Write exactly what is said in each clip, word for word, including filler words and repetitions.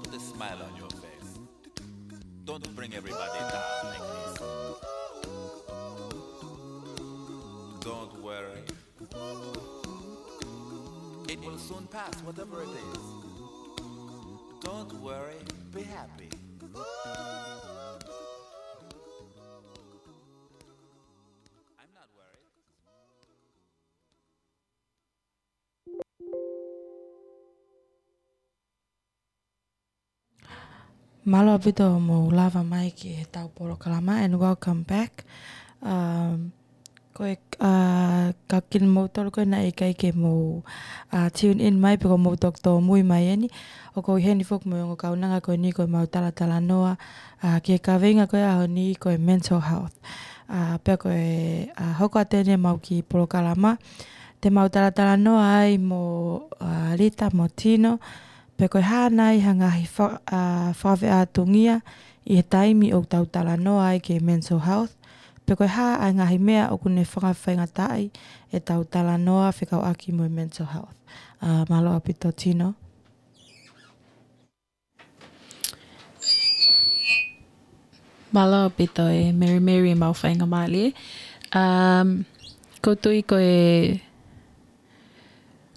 Put a smile on your face. Don't bring everybody down like this. Don't worry. It will soon pass, whatever it is. Don't worry, be happy. I'm not worried. Mālō ʻaupito hoʻomou lava mai ki heʻetau polokalama, and welcome back. Um, ko e, uh, ka kimoutolu ko ē naʻe ʻikai ke mou, uh, tune in mai pe ko hoʻomou toki tōmui mai eni, ʻoku ou ʻi heni foki mo e ongo kaunanga ko eni ko ʻemau talatalanoa, uh, ki he kaveinga ko ē ʻaho ni ko e mental health. Uh, pea ko e, uh, hoko atu eni ʻemau kiʻi polokalama, te mau talatalanoa ai mo, uh, Lita mo Tino, pe ko e hā nai ha ngaahi fa-, uh, fakafeʻātungia ʻi he taimi ʻoku tau talanoa ai ki he mental health, pe ko e hā ʻa e ngaahi meʻa ʻoku ne fakafaingataʻaʻi ʻetau talanoa fekauʻaki mo e mental health. Uh, mālō ʻaupito Tino. Mālō ʻaupito e Mary Mary, mau faingamālie. Um, ʻoku ou tui ko e,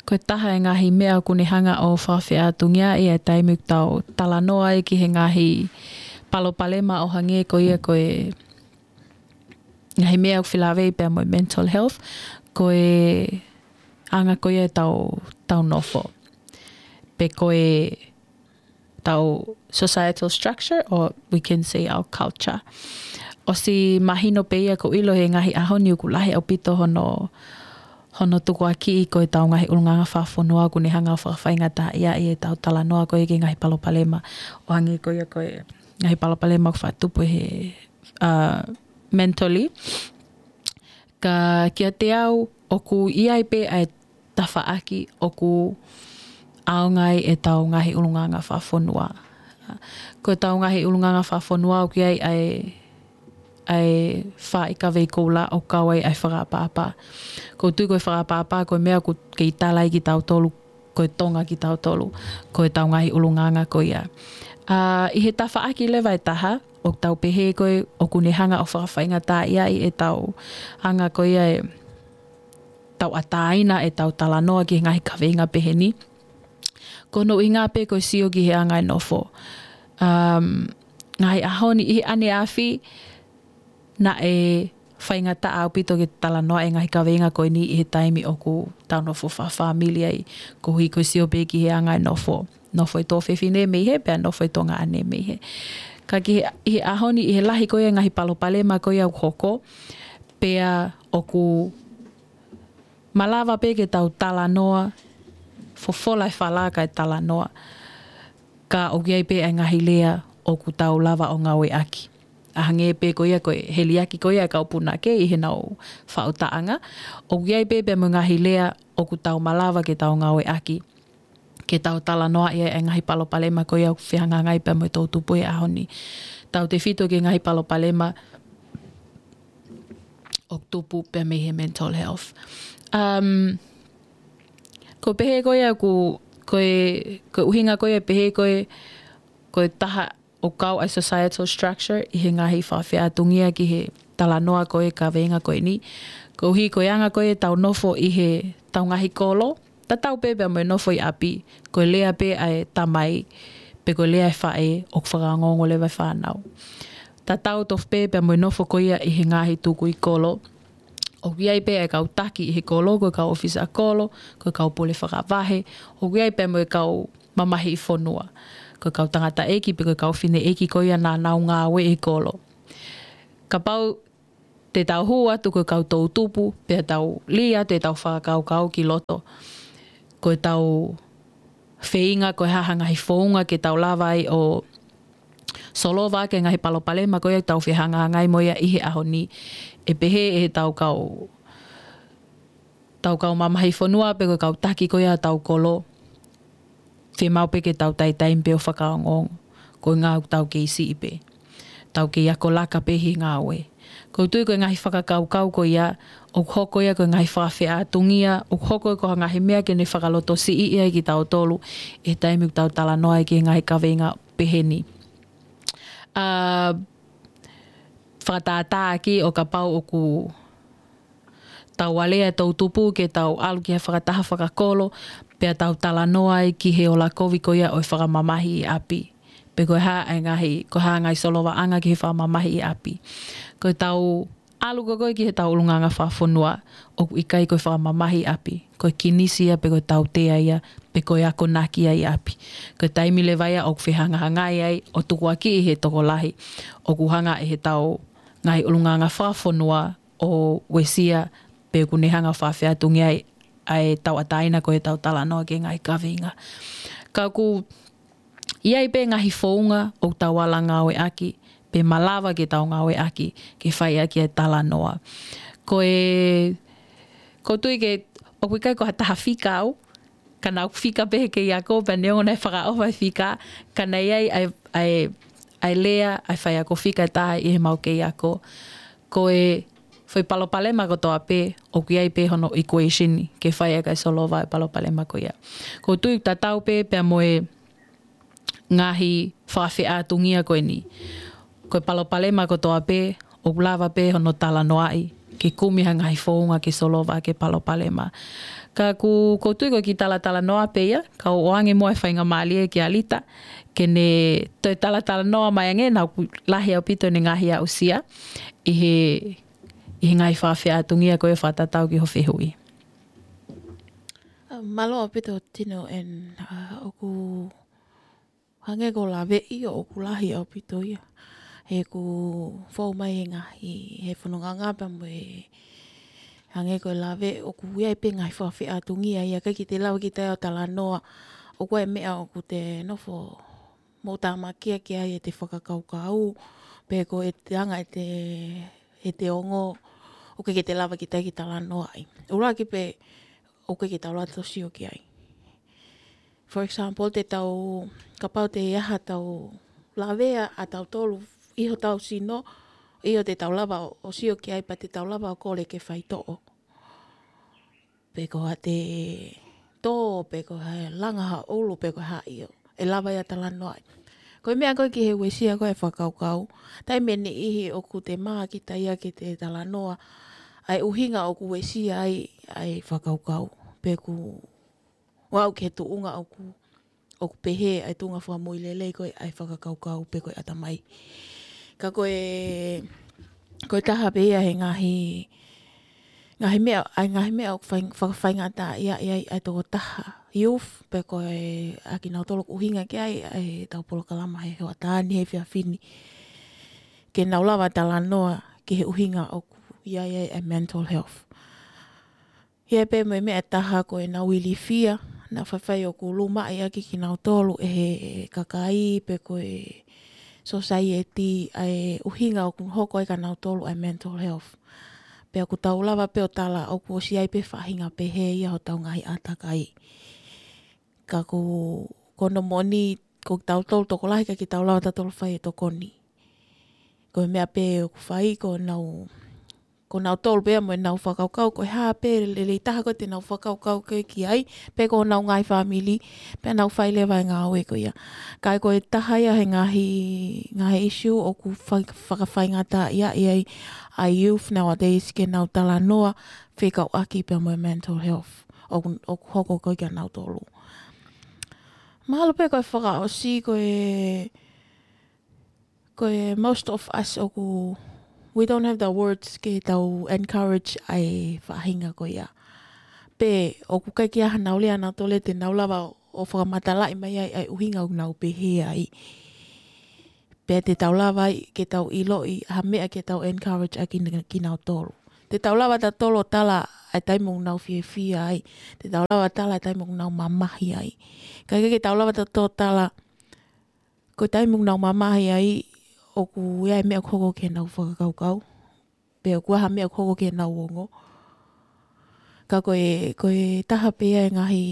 ko e taha e ngaahi meʻa ʻoku ne hanga ʻo fakafeʻātungiaʻi e taimi ʻoku tau talanoa ai ki he ngaahi palopalema ʻo hangē ko ia ko e ngaahi meʻa ʻoku felāveʻi pea mo e mental health, ko e anga ko ia ʻetau, tau nofo. Pe ko e tau societal structure, or we can say our culture. ʻOsi mahino pē ia ʻoku ou ʻilo he ngaahi ʻaho ni ʻoku lahi ʻaupito hono, hono tukuakiʻi ko ʻetau ngaahi ʻulungaanga fakafonua ʻoku ne hanga ʻo fakafaingataʻaʻi ʻetau talanoa ko ia ki he ngaahi palopalema ʻo hangē ko ia ko e ngaahi palopalema ʻoku faʻa tupu he, uh, mentally. Ka kiate au, ʻoku ʻi ai pē ʻa e tafaʻaki ʻoku ʻaonga ai ʻetau ngaahi ʻulungaanga fakafonua. Ko ʻetau ngaahi ʻulungaanga fakafonua ʻoku ʻi ai ʻa e, ʻa e faaʻi kavei koula ʻoku kau ai ʻa e fakaʻapaʻapa. ʻOku ou tui ko e fakaʻapaʻapa ko e meʻa ʻoku kei tala ai kitautolu, ko e Tonga kitautolu, ko ʻetau ngaahi ʻulungaanga ko ia. ʻA, ʻi he tafaʻaki leva ʻe taha, ʻoku tau pehē ko ē ʻoku ne hanga ʻo fakafaingataʻaʻi ʻetau anga ko ia e tauʻatāina ʻetau talanoa ki he ngaahi kaveinga pehē ni. Ko hono ʻuhinga pē ko e sio ki he anga e nofo. Um, ngaahi ʻaho ni ʻi he ʻaneafi naʻe faingataʻa ʻaupito ke talanoa e ngaahi kaveinga ko eni ʻi he taimi ʻoku tau nofo fakafāmili ai, koeʻuhi ko e sio pē ki he anga e nofo. Nofo e tuofefine mei hē, pea nofo e tuongaʻane mei hē. Ka ki he, ʻi he ʻaho ni, ʻi he lahi ko ia e ngaahi palopalema ko ia ʻoku hoko, pea ʻoku malava pē ke tau talanoa, fofola e fala kae talanoa. Ka ʻoku ʻi ai pē ʻa e ngaahi lea ʻoku tau lava ʻo ngāueʻaki. ʻA hangē pē ko ia ko e heliaki ko ia e kau punake ʻi heʻenau faʻu taʻanga. ʻOku ʻi ai pē pea mo e ngaahi lea ʻoku tau malava ke tau ngāueʻaki ke tau talanoaʻi ai e ngaahi palopalema ko ia ʻoku fehangahangai pea mo e toʻutupu he ʻaho ni. Tautefito ki he ngaahi palopalema ʻoku tupu pea mei he mental health. Um, ko e pehē ko ia ʻoku, ko e, ko e ʻuhinga ko ia pehē ko e, ko e taha ʻoku kau ai e societal structure ʻi he ngaahi fakafeʻātungia ki he talanoa ko e kaveinga ko eni. Koeʻuhi ko e anga ko ia ʻetau nofo ʻi heʻetau ngaahi kolo, tatau pē pea mo e nofo ʻi ʻapi, ko e lea pē ʻa e tamai, pe ko e lea ʻa e faʻē ʻoku fakaongoongo leva e fānau. Tatau tofu pē pea mo e nofo ko ia ʻi he ngaahi tukui kolo. ʻOku ʻi ai pē ʻa e kau taki ʻi he kolo, ko e kau ʻōfisa kolo, ko e kau pule fakavahe, ʻoku ʻi ai pē mo e kau mamahiʻi fonua, ko e kau tangataʻeiki pe ko e kau fineʻeiki ko ia naʻa nau ngāueʻi e kolo. Kapau te tau hū atu ko e kau toʻutupu, pea tau lī atu ʻetau fakakaukau ki loto, ko ʻetau feinga ko e hā ha ngaahi founga ke tau lava ai ʻo solova ʻaki e ngaahi palopalema ko ia ʻoku tau fehangahangai mo ia ʻi he ʻaho ni. ʻE pehē ʻe heʻetau kau, tau kau mamahiʻi fonua pe ko e kau taki ko ia ʻetau kolo, fiemaʻu pē ke tau taitaimi pē ʻo fakaongoongo, koeʻuhi ʻoku tau kei siʻi pē, tau kei ako laka pē he ngāue. Ko u tui ko e ngaahi fakakaukau ko ia, ʻoku hoko ia ko e ngaahi fakafeʻātungia, ʻoku hoko ia ko ha ngaahi meʻa ke ne fakalotosiʻi ai kitautolu, ʻi he taimi ʻoku tau talanoa ai ki he ngaahi kaveinga pehē ni. ʻA, fakatātā ki ʻo kapau ʻoku tau alea toʻutupu ke tau ʻalu ki he fakataha fakakolo, pea tau talanoa ai ki he ola kovi ko ia ʻo e fakamamahi ʻi ʻapi. Pe ko e hā e ngaahi, ko e hā ngaahi solovaʻanga ki he fakamamahi ʻi ʻapi. Ko e tau ʻalu ko ē ki he tau ʻulungaanga fakafonua, ʻoku ʻikai ko e fakamamahi ʻi ʻapi. Ko e kinisi ia pe ko e tautea ia, pe ko e akonaki ia ʻi ʻapi. Ko e taimi leva ia ʻoku fehangahangai ai, ʻo tukuakiʻi he tokolahi, ʻoku hanga ʻe he tau ngaahi ʻulungaanga fakafonua ʻo uesia pe ʻoku ne hanga ʻo fakafeʻātungia ai ʻa e tauʻatāina ko e tau talanoa ki he ngaahi kaveinga. Ka ʻoku ʻi ai pē ngaahi founga ʻoku tau ala ngāueʻaki, pe malava ke tau ngāueʻaki, ke fai ʻaki e talanoa. Ko e, ko u tui ke, ʻoku ʻikai ko ha taha fika au, ka naʻa ku fika pē he kei ako, pea neongo naʻe fakaʻofa e fika, ka naʻe ʻi ai ʻa e, ʻa e, ʻa e lea, ʻa e faiako fika ʻe taha ʻi he mau kei ako. Ko e foʻi palopalema kotoa pē, ʻoku ʻi ai pē hono equation ke fai ʻaki e solova e palopalema ko ia. Ko u tui tatau pē pea mo e ngaahi fakafeʻātungia ko eni. Ko e palopalema kotoa pē, ʻoku lava pē hono talanoaʻi, ke kumi ha ngaahi founga ke solova ʻaki e palopalema. Ka ʻoku, ko u tui ko e kiʻi talatalanoa pē ia, ka u ʻoange muʻa e faingamālie kia Lita, ke ne toe talatalanoa mai ange, naʻa ʻoku lahi ʻaupito ʻene ngaahi aʻusia, ʻi he, ʻi he ngaahi fakafeʻātungia ko e fakatatau ki hoʻo fehuʻi. Mālō ʻaupito Tino, and, uh, ʻoku hangē ko e laveʻi ʻoku lahi ʻaupito ia. He ʻoku fou mai he ngaahi, he fononga pea mo e hangē ko e lave ʻoku ʻi ai pē ngaahi fakafeʻātungia ia, ʻikai ke te lava kita ia ʻo talanoa. ʻOku ʻi ai e meʻa ʻoku te nofo mo tāmakia ki ai ʻete fakakaukau, pe ko ʻete anga ʻete, ʻete ongo, ʻoku ʻikai ke te lava kita ke talanoaʻi. ʻUluaki pē, ʻoku ʻikai ke tau lava ʻo sio ki ai. For example, te tau, kapau te ʻi ai ha tau lavea ʻa tautolu ʻi hotau sino, ʻio te tau lava ʻo, ʻo sio ki ai, pea te tau lava ʻo kole ke faitoʻo. Pe ko ha te tō, pe ko ha langa ha ʻulu, pe ko ha ʻio. ʻE lava ia talanoaʻi. Ko e meʻa ko ē ki he uesia ko e fakakaukau. Taimi ʻe niʻihi ʻoku te mā kita ia ke te talanoa ʻa e ʻuhinga ʻoku uesia ai ʻa e fakakaukau. Pe ʻoku ʻalu ki he tuʻunga ʻoku, ʻoku pehē ʻa e tuʻunga fakamoʻui lelei ko e ʻa e fakakaukau pe ko e ʻatamai. Ka ko e, ko e taha pē ia he ngaahi, ngaahi meʻa, ʻa e ngaahi meʻa ʻoku fai-, fakafaingataʻaʻia ai ʻa e tokotaha youth, pe ko e ʻa kinautolu ʻoku ʻuhinga ki ai ʻa e tau polokalama he hoʻatā ni he efiafi ni. Ke nau lava talanoa ki he ʻuhinga ʻoku ʻi ai ʻa e mental health. ʻI ai pē mo e meʻa ʻe taha ko ʻenau ilifia, naʻa faifai ʻoku lumaʻi ʻaki kinautolu ʻe he kakai pe ko e society ʻa e ʻuhinga ʻoku hoko ai kinautolu ʻa e mental health. Pea ʻoku tau lava pē ʻo tala ʻoku ʻosi ʻi ai pē faʻahinga pehē ia hotau ngaahi ʻātakai. Ka ko, ko hono moʻoni, ko tautolu tokolahi ʻikai ke tau lava tautolu fai e tokoni. Ko e meʻa pē ʻoku fai, ko nau, ko nautolu pē ia mo ʻenau fakakaukau, ko e hā pē lelei taha ko ē te nau fakakaukau ko ē ki ai, pe ko honau ngaahi fāmili, pea nau fai leva e ngāue ko ia. Ka ko e taha ia he ngaahi, ngaahi issue ʻoku fai-, fakafaingataʻaʻia ai ʻa e youth nowadays ke nau talanoa fekauʻaki pea mo e mental health ʻoku, ʻoku hoko ko ē kia nautolu. Mahalo pē ko e fakaʻosi ko e, ko e most of us ʻoku, we don't have the words ke tau encourage ʻa e faʻahinga ko ia. Pe ʻoku ʻikai ke ʻi ai hanau lea nautolu te nau lava ʻo fakamatalaʻi mai ai ʻa e ʻuhinga ʻoku nau pehē ai. Pea te tau lava ai ke tau ʻiloʻi ha meʻa ke tau encourage ʻaki kinautolu. Te tau lava tautolu ʻo tala ʻa e taimi ʻoku nau fiefia ai. Te tau lava tala ʻa e taimi ʻoku nau mamahi ai. Ka ʻikai ke tau lava tautolu tala, ko e taimi ʻoku nau mamahi ai, ʻoku ʻi ai e meʻa ʻoku hoko ki heʻenau fakakaukau. Pe ʻoku ʻi ai ha meʻa ʻoku hoko ki heʻenau ongo. Ka ko e, ko e taha pē ia e ngaahi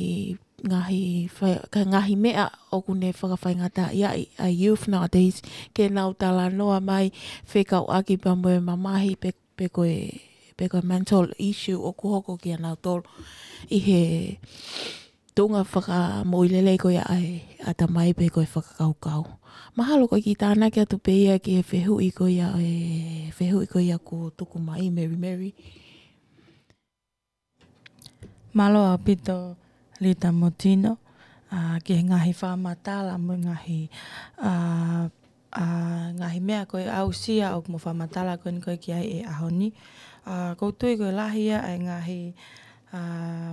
ngaahi, fai, ka ngaahi meʻa ʻoku ne fakafaingataʻaʻi ʻa e youth nowadays, ke nau talanoa mai fekauʻaki pea mo e mamahi pe, pe ko e, pe ko e mental issue ʻoku hoko kia nautolu ʻi he tuʻunga fakamoʻui lelei ko ia ʻa e ʻatamai pe ko e fakakaukau. Mahalo ko e kiʻi tānaki atu pē ia ki he fehuʻi ko ia, e fehuʻi ko ia kuo tuku mai, Mary Mary. Mālō ʻaupito Lita mo Tino, ʻa, ki he ngaahi fakamatala mo e ngaahi, ʻa, ʻa, ngaahi meʻa ko e aʻusia ʻoku mo fakamatala ko eni ko e ki ai ʻi he ʻaho ni. ʻA, ʻoku ou tui ko e lahi ia ʻa e ngaahi, ʻa,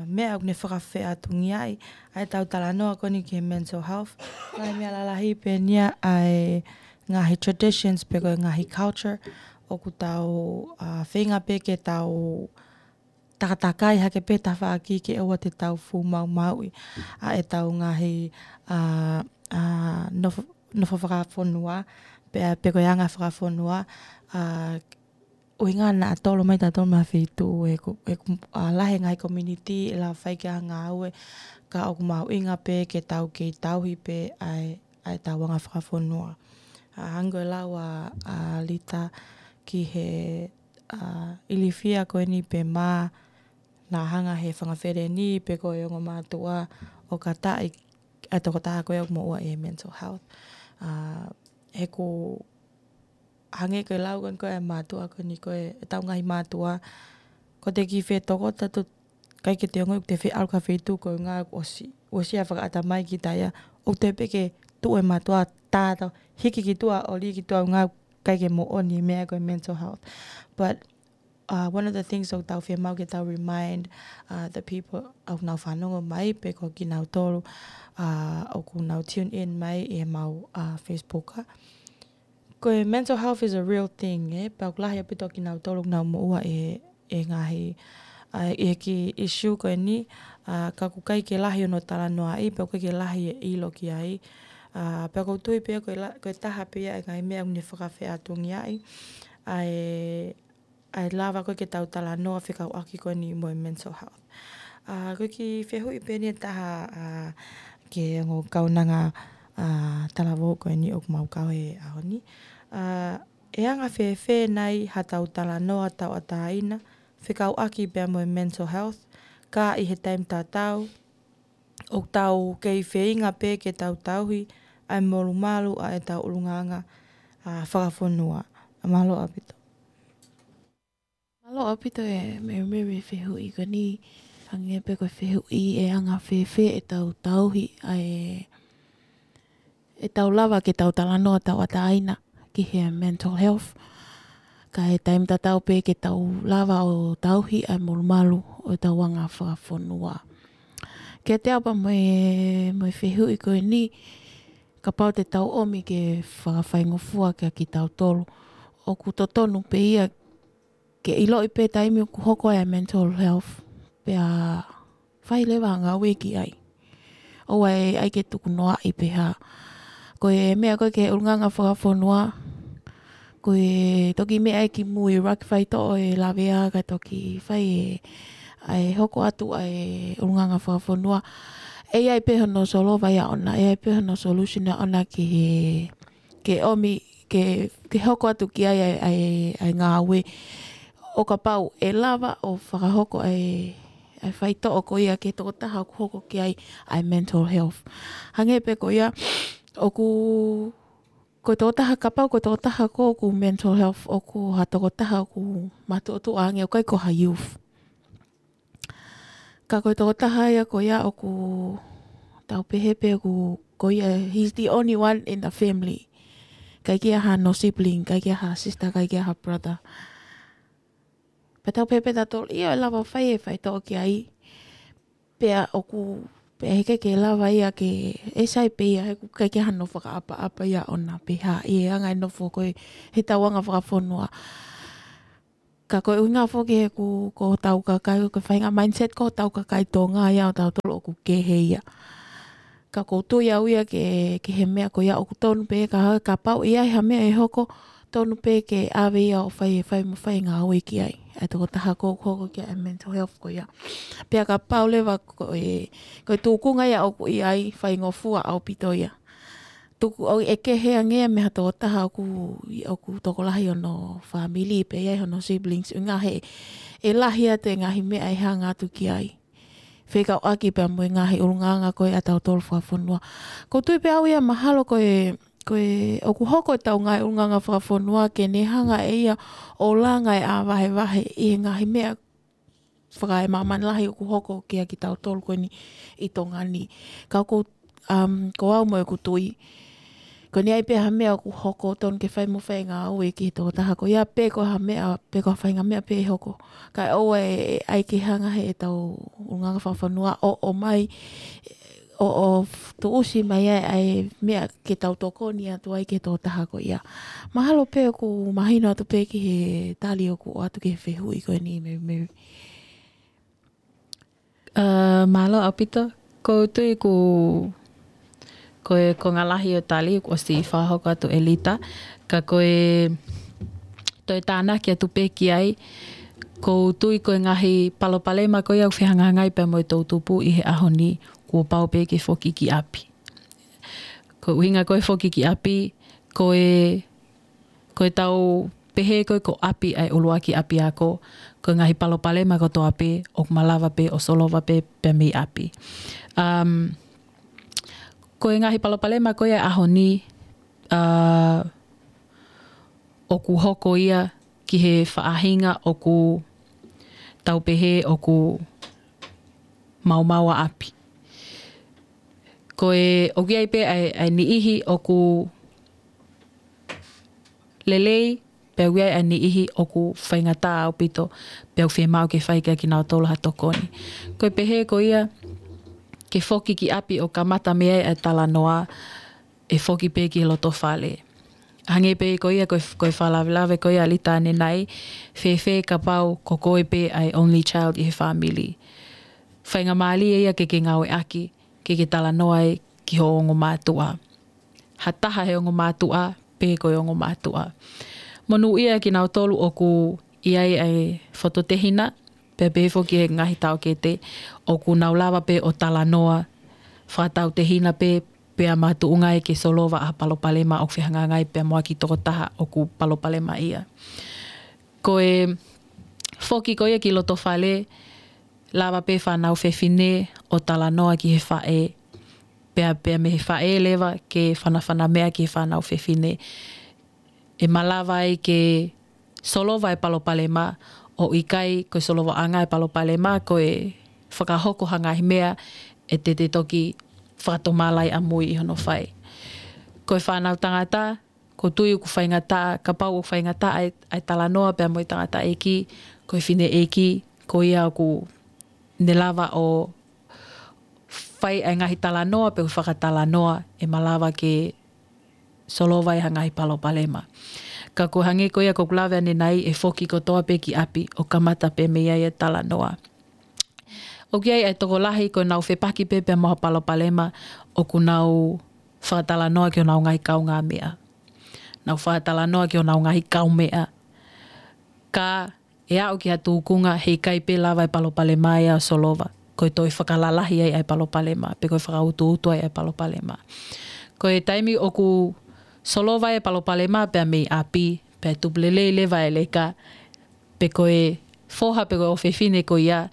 meʻa ʻoku ne fakafeʻātungiaʻi ʻa e tau talanoa ko eni ki he mental health. Ngaahi meʻa lalahi pē eni ia ʻa e ngaahi traditions pe ko e ngaahi culture ʻoku tau, ʻa, feinga pē ke tau takatakai hake pē tafaʻaki ke ʻoua te tau fuʻu maumauʻi ʻa e tau ngaahi, ʻa, ʻa, nofo, nofo fakafonua, pe, pe ko e anga fakafonua, ʻa, ʻuhinga naʻa tolo mai tautolu mei ha feituʻu ʻe ku, ʻe ku, ʻa, lahi e ngaahi community ʻe lava fai ki ai ha ngāue, ka ʻoku mahuʻinga pē ke tau kei tauhi pē ʻa e, ʻa e tau anga fakafonua. ʻA, hangē ko e lau ʻa, ʻa Lita ki he, ʻa, ilifia ko eni pe mā naʻa hanga he fanga feleni pe ko e ongo mātuʻa ʻo kataʻi ʻa e tokotaha ko ia ʻoku moʻua ʻi he mental health. ʻA, he ʻoku hangē ko e lau ko eni ko e mātuʻa ko eni ko e, ʻetau ngaahi mātuʻa, ko te kiʻi fetokota tu ʻikai ke te ongoʻi ʻoku te feʻalu ki ha feituʻu koeʻuhinga ʻoku ʻosi, ʻosi ʻa e fakaʻatamai kita ia, ʻoku te pē ke tuʻu e mātuʻa tātau, hiki ki tuʻa ʻo lī ki tuʻa ʻuhinga ʻikai ke moʻoni e meʻa ko e mental health. But, uh, one of the things ʻoku tau fiemaʻu ke tau remind, uh, the people ʻoku nau fanongo mai pe ko kinautolu, uh, ʻoku nau tune in mai ʻi he mau, uh, Facebook, ʻa, ko e mental health is a real thing, ē? Pea ʻoku lahi ʻaupito kinautolu ʻoku nau moʻua ʻi he, ʻi he ngaahi, ʻa, ʻi he kiʻi issue ko eni, ʻa, ka ʻoku ʻikai ke lahi hono talanoaʻi, pea ʻoku ʻikai ke lahi e ʻilo ki ai. ʻA, pea ʻoku ou tui pē ko e la, ko e taha pē ia e ngaahi meʻa ʻoku ne fakafeʻātungiaʻi ʻa e, ʻa e lava ko ē ke tau talanoa fekauʻaki ko eni mo e mental health. ʻA, ko e kiʻi fehuʻi pē eni ʻe taha, ʻa, ki he ongo kaunanga, ʻa, talavou ko eni ʻoku mau kau he ʻaho ni. ʻA, ʻe anga fēfē nai ha tau talanoa tauʻatāina fekauʻaki pea mo e mental health, ka ʻi he taimi tatau ʻoku tau kei feinga pē ke tau tauhi ʻa e molumalu ʻa e tau ʻulungaanga, ʻa, fakafonua. Mālō ʻaupito. Mālō ʻaupito e Mary Mary e fehuʻi ko eni, hangē pē ko e fehuʻi ʻe anga fēfē ʻetau tauhi ʻa e, ʻetau lava ke tau talanoa tauʻatāina ki he mental health. Ka ʻi he taimi tatau pē ke tau lava ʻo tauhi ʻa e molumalu ʻo ʻetau anga fakafonua. Kiate au pea mo e, mo e fehuʻi ko eni, kapau te tau ʻomi ke fakafaingofua kia kitautolu, ʻoku totonu pē ia ke ʻiloʻi pē taimi ʻoku hoko ai e mental health, pea fai leva ha ngāue ki ai. ʻOua ʻe ʻai ke tukunoaʻi pe hā. Ko e meʻa ko ē ki he ʻulungaanga fakafonua, ko e toki meʻa ia ki mui, ʻuluaki faitoʻo e lavea kae toki fai e, ʻa e hoko atu ʻa e ʻulungaanga fakafonua. ʻE ʻi ai pē hono solova ia ʻona, ʻe ʻi ai pē hono solution ia ʻona ki he, ke ʻomi, ke, ke hoko atu ki ai ʻa e, ʻa e, ʻa e ngāue. ʻO kapau ʻe lava ʻo fakahoko ʻa e, ʻa e faitoʻo ko ia ki he tokotaha ʻoku hoko ki ai ʻa e mental health. Hangē pē ko ia, ʻoku, ko e tokotaha, kapau ko e tokotaha ko ē ʻoku mental health, ʻoku ha tokotaha ʻoku matuʻotuʻa ange, ʻoku ʻikai ko ha youth. Ka ko e tokotaha ia ko ia ʻoku tau pehē pē ʻoku, ko ia, he's the only one in the family. ʻIkai ke ʻi ai hano sibling, ʻikai ke ʻi ai ha sister, ʻikai ke ʻi ai ha brother. Pea tau pehē pē tautolu, ʻio, ʻe lava fai e faitoʻo ki ai. Pea ʻoku, pea heʻikai ke lava ia ke, ʻe sai pē ia, he ʻoku ʻikai ke ʻi ai hano fakaʻapaʻapa ia ʻona pe hā, ʻi he anga e nofo ko ē he tau anga fakafonua. Ka ko e ʻuhinga foki he ʻoku, ko hotau kakai, ko e faʻahinga mindset ko hotau kakai Tonga ia ʻo tautolu ʻoku kehe ia. Ka ʻoku ou tui au ia ke, ki he meʻa ko ia ʻoku tonu pē ka, kapau ʻe ʻi ai ha meʻa ʻe hoko, tonu pē ke ʻave ia ʻo fai, fai mo fai e ngāue ki ai. ʻa e tokotaha ʻoku hoko ki ai e mental health ko ia. Pea kapau leva ko e, ko e tūkunga ia ʻoku ʻi ai, faingofua ʻaupito ia. Tuku ʻoku ʻeke ange ia mei ha tokotaha ʻoku, ʻoku tokolahi hono family, pe ʻi ai hono siblings, ʻuhinga he ʻe lahi atu e ngaahi meʻa ʻe hanga atu ki ai. Fekauʻaki pea mo e ngaahi ʻulungaanga ko ē ʻa tautolu fakafonua. ʻOku ou tui pē au ia mahalo ko e, ko e ʻoku hoko ʻetau ngaahi ʻulungaanga fakafonua ke ne hanga ʻe ia ʻo langa e ʻā vahevahe ʻi he ngaahi meʻa fakaemāmani lahi ʻoku hoko kia kitautolu ko eni ʻi Tonga ni. Ka ʻoku, um, ko au mo ʻeku tui, ko eni ai pē ha meʻa ʻoku hoko tonu ke fai mo fai e ngāue ki he tokotaha ko ia pe ko ha meʻa, pe ko ha faʻahinga meʻa pē ʻe hoko. Kae ʻoua ʻe, ʻe ʻai ke hanga he ʻetau ʻulungaanga fakafonua ʻo, ʻo mai, ʻo, ʻo tuʻusi mai ai, ʻa e meʻa ke tau tokoni atu ai ki he tokotaha ko ia. Mahalo pē ʻoku mahino atu pē ki he tali ʻoku ʻoatu ki he fehuʻi ko eni, Mary, Mary. Uh, mālō ʻaupito, ʻoku ou tui ʻoku, ko e konga lahi ʻo e tali kuo ʻosi fakahoko atu ʻe Lita, ka ko e toe tānaki atu pē ki ai, ʻoku ou tui ko e ngaahi palopalema ko ia ʻoku fehangahangai pea mo e toʻutupu ʻi he ʻaho ni, kuo pau pē ke foki ki ʻapi. Ko e ʻuhinga ko e foki ki ʻapi, ko e, ko e tau pehē ko e ko ʻapi ʻa e ʻuluaki ʻapiako, ko e ngaahi palopalema kotoa pē, ʻoku malava pē ʻo solova pē pea mei ʻapi. Um, ko e ngaahi palopalema ko ia ʻaho ni, uh, ʻoku hoko ia ki he faʻahinga ʻoku tau pehē ʻoku maumau ʻa ʻapi. Ko e ʻoku ʻi ai pē ʻa e, ʻa e niʻihi ʻoku lelei, pea ʻoku ʻi ai ʻa e niʻihi ʻoku faingataʻa ʻaupito, pea ʻoku fiemaʻu ke fai kia kinautolu ha tokoni. Ko e pehē ko ia, ke foki ki ʻapi ʻo kamata mei ai ʻa e talanoa, ʻe foki pē ki he loto fale. Hangē pē ko ia ko e, ko e fakalavelave ko ia ʻa Lita ʻanenai, fēfē kapau ko koe pē ʻa e only child ʻi he family. Faingamālie ia ke ke ngāueʻaki, ke ke talanoa ai ki ho ongo mātuʻa. Ha taha he ongo mātuʻa, pe ko e ongo mātuʻa. Monūʻia kinautolu ʻoku ʻi ai ʻa e fototehina, pea pehē foki e ngaahi taʻokete, ʻoku nau lava pē ʻo talanoa fakatautehina pē, pea makatuʻunga ai ke solova ʻa e palopalema ʻoku fehangahangai pea mo ha kiʻi tokotaha ʻoku palopalema ia. Ko e foki ko ia ki loto fale, lava pē fānau fefine ʻo talanoa ki he faʻē, pea, pea mei he faʻē leva ke fanafana meʻa ki he fānau fefine. ʻE malava ai ke solova e palopalema, ʻo ʻikai ko e solovaʻanga e palopalema, ko e fakahoko ha ngaahi meʻa ʻe te te toki fakatomala ai ʻamui ʻi hono fai. Ko e fānau tangata, ʻoku ou tui ʻoku faingataʻa, kapau ʻoku faingataʻa ʻa e, ʻa e talanoa pea mo e tangataʻeiki, ko e fineʻeiki, ko ia ʻoku ne lava ʻo fai ʻa e ngaahi talanoa pe ʻoku fakatalanoa ʻe malava ke solova ai ha ngaahi palopalema. Ka ko e hangē ko ia ʻoku ou lave ʻanenai, ʻe foki kotoa pē ki ʻapi ʻo kamata pē mei ai e talanoa. ʻOku ʻi ai e tokolahi ko ʻenau fepaki pē pea mo ha palopalema ʻoku nau fakatalanoa ki honau ngaahi kaungāmeʻa. Nau fakatalanoa ki honau ngaahi kaumeʻa. Ka ʻe aʻu ki ha tūkunga he ʻikai pē lava e palopalema ia ʻo solova. Ko e toe fakalalahi ai ʻa e palopalema, pe ko e fakautuutu ai ʻa e palopalema. Ko e taimi ʻoku solova ai e palopalema pea mei ʻapi, pea tupu lelei leva e leka, pe ko e foha pe ko e ʻofefine ko ia,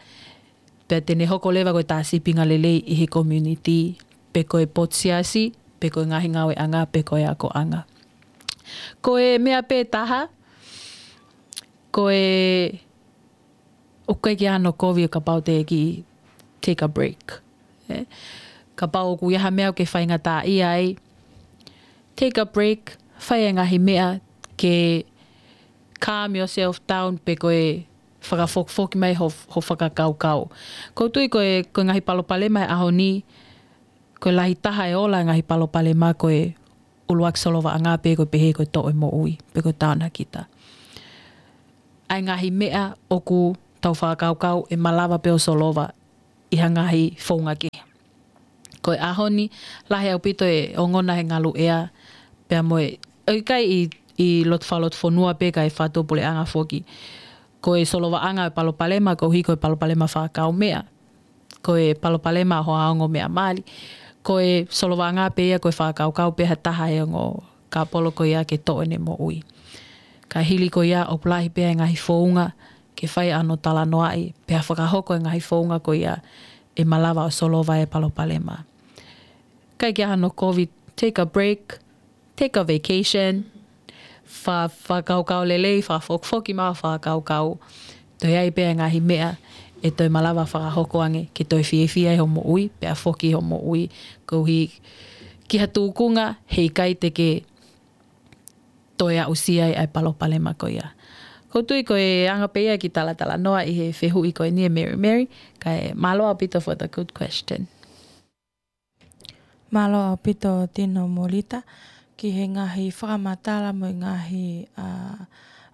pea te ne hoko leva ko e tā sīpinga lelei ʻi he community, pe ko e potu siasi, pe ko e ngaahi ngāueʻanga, pe ko e akoʻanga. Ko e meʻa pē taha, ko e ʻoku ʻikai ke ʻi ai hano kovi ʻo kapau te ke take a break. ʻE? Kapau ʻoku ʻi ai ha meʻa ʻoku ke faingataʻaʻia ai, take a break, fai e ngaahi meʻa ke calm yourself down pe ko e fakafokifoki mai ho, ho fakakaukau. ʻOku ou tui ko e, ko e ngaahi palopalema he ʻaho ni, ko e lahi taha e ola e ngaahi palopalema ko e ʻuluaki solovaʻanga pe ko e pehē ko e toʻo e moʻui, pe ko e taonakita. ʻA e ngaahi meʻa ʻoku tau fakakaukau ʻe malava pē ʻo solova ʻi ha ngaahi founga kehe. Ko e ʻaho ni, lahi ʻaupito e ongona he ngaluʻea, pea mo e, ʻoku ʻikai ʻi, ʻi loto fakalotofonua pē kae fakatuʻapuleʻanga foki. Ko e solovaʻanga e palopalema, koeʻuhi ko e palopalema fakakaumeʻa. Ko e palopalema hoʻo ongo meʻa mali. Ko e solovaʻanga pē ia ko e fakakaukau pē ha taha he ongo kāpolo ko ia ke toʻo ʻene moʻui. Ka hili ko ia ʻoku lahi pē ʻa e ngaahi founga ke fai ʻa hono talanoaʻi, pea fakahoko e ngaahi founga ko ia ʻe malava ʻo solova e palopalema. ʻIkai ke ʻi ai hano kovi, take a break, take a vacation, fa-, fakakaukau lelei, fakafokifoki mai hoʻo fakakaukau. Toe ʻi ai pē ʻa e ngaahi meʻa ʻe toe malava fakahoko ange ke toe fiefia ai hoʻo moʻui, pea foki hoʻo moʻui, koeʻuhi ki ha tūkunga heʻikai te ke toe aʻusia ai ʻa e palopalema ko ia. ʻOku ou tui ko e anga pē ia e kiʻi talatalanoa ʻi he fehuʻi ko eni ʻe Mary Mary, kae mālō ʻaupito for the good question. Mālō ʻaupito Tino mo Lita, ki he ngaahi fakamatala mo e ngaahi, ā,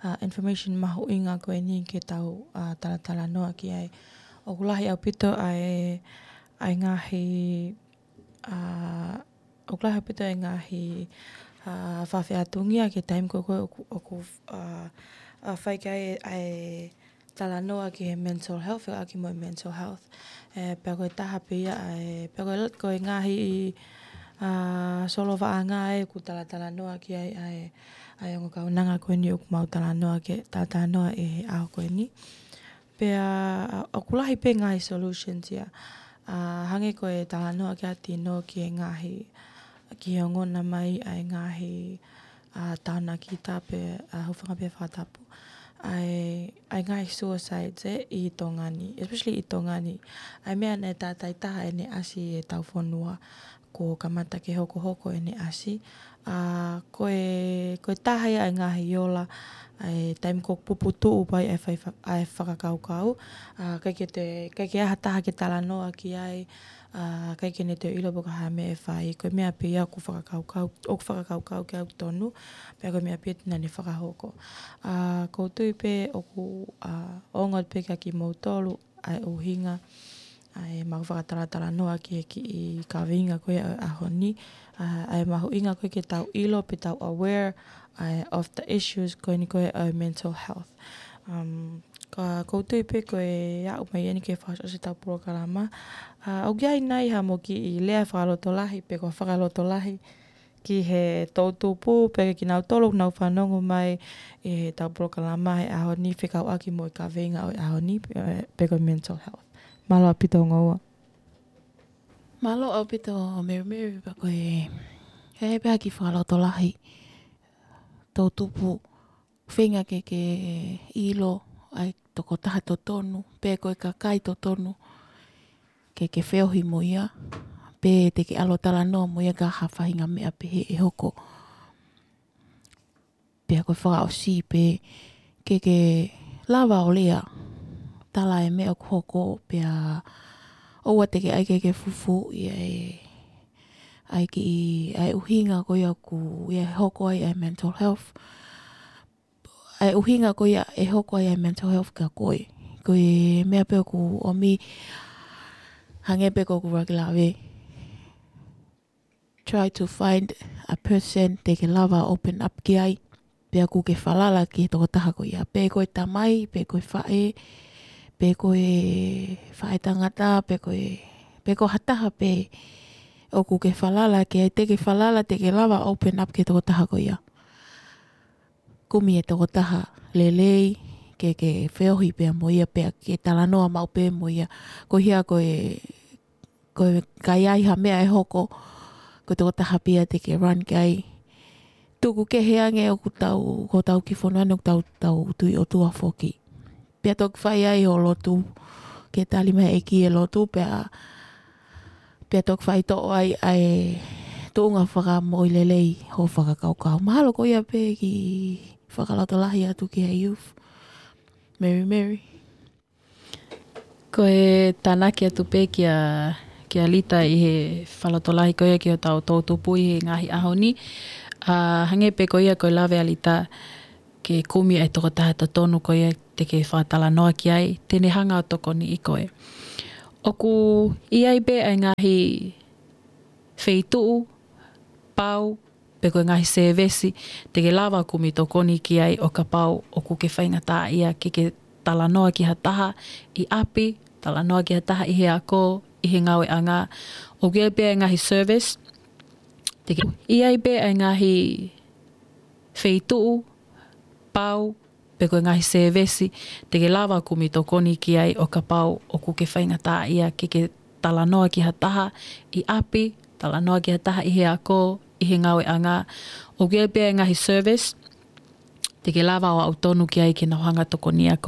ā, information mahuʻinga ko eni ke tau, ā, talatalanoa ki ai. ʻOku lahi ʻaupito ʻa e, ʻa e ngaahi, ā, ʻoku lahi ʻaupito ʻa e ngaahi, ā, fakafeʻātungia ki he taimi ko ē ʻoku, ʻoku, ā, ā, fai ki ai ʻa e talanoa ki he mental health, fekauʻaki mo e mental health. ʻE, pea ko e taha pē ia ʻa e, pea ko e, ko e ngaahi, ā, solovaʻanga ʻoku talatalanoa ki ai ʻa e, ʻa e ongo kaunanga ko eni ʻoku mau talanoa ki, talatalanoa ʻi he ʻaho ko eni. Pea, ā, ʻoku lahi pē ngaahi solutions ia. Ā, hangē ko e talanoa kia Tino ki he ngaahi, ki he ongona mai ʻa e ngaahi, ā, taonakita pe, ā, hūfanga pē he fakatapu. ʻA e, ʻa e ngaahi suicides ē ʻi Tonga ni, especially ʻi Tonga ni. ʻA e meʻa naʻe tātaitaha ʻene ʻasi ʻi heʻetau fonua, kuo kamata ke hokohoko ʻene ʻasi. Ā, ko e, ko e taha ia ʻa e ngaahi ola, ʻa e taimi ko ē ʻoku puputuʻu pē ai ʻa e fai fa-, ʻa e fakakaukau. Ā, ʻikai ke te, ʻikai ke ʻi ai ha taha ke talanoa ki ai, ā, ʻikai ke ne toe ʻilo pe ko e hā e meʻa ʻe fai. Ko e meʻa pē ia ʻoku fakakaukau, ʻoku fakakaukau ki ai ʻoku tonu, pea ko e meʻa pē ia te ne fakahoko. Ā, ʻoku ou tui pē ʻoku, ā, ongo pē kia kimoutolu, ʻa e ʻuhinga, ʻa e mau fakatalatalanoa ki he kiʻi kaveinga ko ia ʻo e ʻaho ni, ā, ʻa e mahuʻinga ko ē ke tau ʻilo pe tau aware, ā, of the issues ko eni ko ē ʻo e mental health. Um, ka ʻoku ou tui pē ko e aʻu mai eni ke fakaʻosi ʻetau polokalama. Ā, ʻoku ʻi ai nai haʻamo kiʻi lea fakalotolahi, pe ko e fakalotolahi, ki he toʻutupu, pea ki he kinautolu ʻoku nau fanongo mai ʻi heʻetau polokalama he ʻaho ni fekauʻaki mo e kaveinga ʻo e ʻaho ni, pe, pe ko e mental health. Mālō ʻaupito ongo ua. Mālō ʻaupito Mary Mary, pea ko e, he pea kiʻi fakalotolahi. Toʻutupu, feinga ke, ke ʻilo ʻa e tokotaha totonu, pe ko e kakai totonu, ke, ke feohi mo ia, pe te ke ʻalu ʻo talanoa mo ia ka ha faʻahinga meʻa pehē ʻe hoko. Pea ko e fakaʻosi pē ke, ke lava ʻo lea, tala e meʻa ʻoku hoko, pea ʻoua te ke ʻai ke, ke fufuuʻi ʻa e, ʻa e kiʻi, ʻa e ʻuhinga ko ia ʻoku, ia ʻe hoko ai ʻa e mental health. ʻA e ʻuhinga ko ia ʻe hoko ai ʻa e mental health kia koe. Ko e meʻa pē ʻoku ʻomi, hangē pē ko ʻeku ʻuluaki lave. Try to find a person te ke lava open up ki ai. Pea ʻoku ke falala ki he tokotaha ko ia. Pe ko e tamai, pe ko e faʻē, pe ko e faʻētangata, pe ko e, pe ko ha taha pē ʻoku ke falala ki ai, te ke falala, te ke lava open up ki he tokotaha ko ia. Kumi e tokotaha lelei, ke, ke feohi pea mo ia, pea ke talanoa maʻu pē mo ia. Ko ia ko e, ko e ka ʻi ai ha meʻa ʻe hoko, ko e tokotaha pē ia te ke run ki ai. Tuku kehe ange ʻoku tau, ko tau kiʻi fonua ni ʻoku tau, tau tui ʻOtua foki. Pea toki fai ai hoʻo lotu, ke tali mai ʻe he ʻEiki e lotu, pea, pea toki faitoʻo ai ʻa e tuʻunga fakamoʻui lelei hoʻo fakakaukau. Mahalo ko ia pē kiʻi fakalotolahi atu ki he youth. Mary Mary. Ko e tānaki atu pē kia, kia Lita ʻi he fakalotolahi ko ia ki hotau toʻutupu ʻi he ngaahi ʻaho ni. Ā, hangē pē ko ia ko e lave ʻa Lita, ke kumi ʻa e tokotaha totonu ko ia te ke fakatalanoa ki ai, te ne hanga ʻo tokoniʻi koe. ʻOku ʻi ai pē ʻa e ngaahi feituʻu, pau, pe ko e ngaahi sēvesi, te ke lava kumi tokoni ki ai ʻo kapau ʻoku ke faingataʻaʻia ke, ke talanoa ki ha taha ʻi ʻapi, talanoa ki ha taha ʻi he ako, ʻi he ngāueʻanga. ʻOku ʻi ai pē ʻa e ngaahi service, te ke ʻi ai pē ʻa e ngaahi feituʻu, pau, pe ko e ngaahi sēvesi te ke lava ʻo kumi tokoni ki ai ʻo kapau ʻoku ke faingataʻaʻia ke ke talanoa ki ha taha ʻi ʻapi, talanoa ki ha taha ʻi he ako, ʻi he ngāueʻanga. ʻOku ʻi ai pē ʻa e ngaahi service te ke lava ʻo aʻu tonu ki ai ke nau hanga ʻo tokoni ʻaki